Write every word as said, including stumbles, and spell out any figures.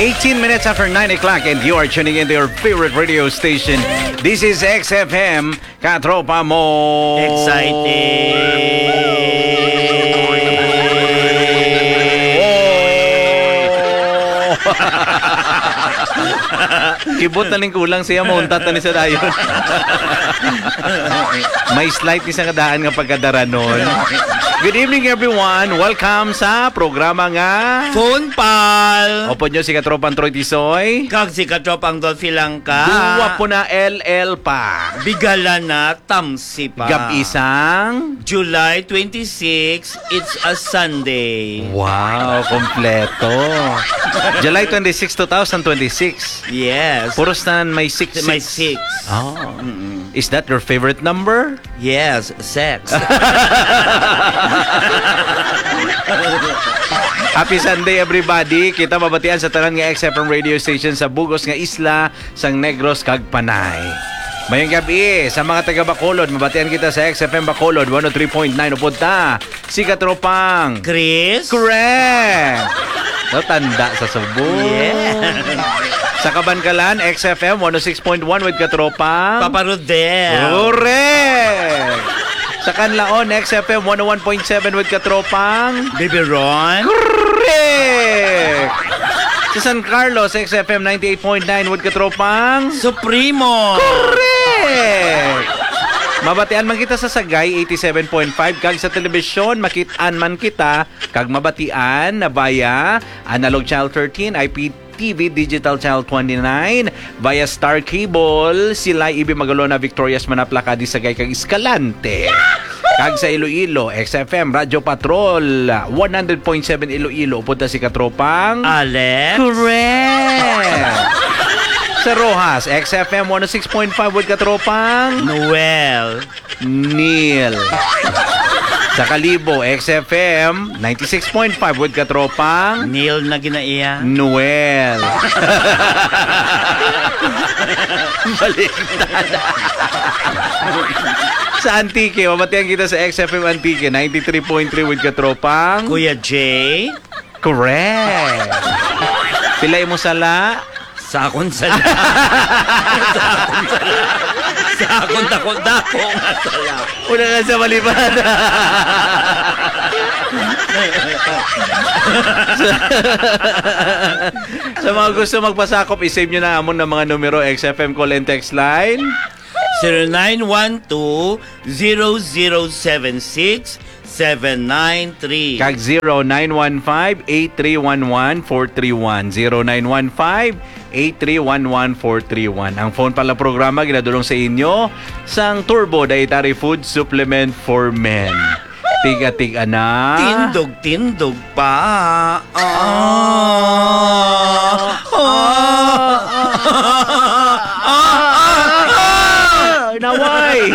Eighteen minutes after nine o'clock, and you are tuning into your favorite radio station. This is X F M, Katropa Mo. Exciting! Oh! Kibot na ning kulang siya, mauntat na ni sa dayon. May slight ni sa kadaan nga pagkadaranon. Good evening, everyone. Welcome sa programa nga Phone Pal. Opo nyo si Katropang Troy Tisoy. Kag si Katropang Dolphy Langka. Duwa po na L L pa. Bigala na, tamsi pa. Gab-isang July twenty-six, it's a Sunday. Wow, kompleto. July twenty-six, two thousand twenty-six. Yes. Puros na may six, May six. six. Oh. Mm-mm. Is that your favorite number? Yes, sex. Happy Sunday, everybody. Kita mabatian sa tanan nga X F M radio station sa bugos nga isla sang Negros kag Panay. Mayong gabi sa mga taga Bacolod. Mabatian kita sa X F M Bacolod one oh three point nine. Upod ta si Katropang Chris? Correct! No, tanda sa Cebu. Yeah. Sa Kabankalan, X F M one oh six point one with Katropang Papa Rodel. Correct! Sa Canlaon, X F M one oh one point seven with Katropang Bibiron. Correct! Sa San Carlos, X F M ninety-eight point nine with Katropang Supremo. Correct! Mabatian man kita sa Sagay eighty-seven point five kag sa telebisyon makit-an man kita kag mabatian na via Analog Channel thirteen, I P T V Digital Channel twenty-nine, via Star Cable, Silay Ibi Magalona, Victorias, Manapla, Cadiz, Sagay kag Escalante. Kag sa Iloilo, X F M Radyo Patrol, one hundred point seven Iloilo, upod ta si Katropang Alex. Correct! Sa Roxas, X F M one oh six point five with Katropang Noel. Neil. Sa Kalibo, X F M ninety-six point five with Katropang Neil na ginaiya. Noel. Baliktad. Sa Antique, mabatian kita sa X F M Antique, ninety-three point three with Katropang Kuya J. Correct. Pila imo sala? Sa akon sala. Sa akon sala. Sa akon dako-dako nga sala. Una na sa malipad. Sa, sa mga gusto magpasakop, i-save nyo na amon na mga numero, X F M call and text line. Zero nine one two, zero zero seven six, seven nine three. Kag zero nine one five, eight three one one, four three one. Zero nine one five, eight three one one, four three one. Ang phone pala programa ginadulong sa inyo sang Turbo Dietary Food Supplement for Men. Tiga-tiga na. Tindog-tindog pa. Ah. Ah. Ah. Ah. Ah. Naway.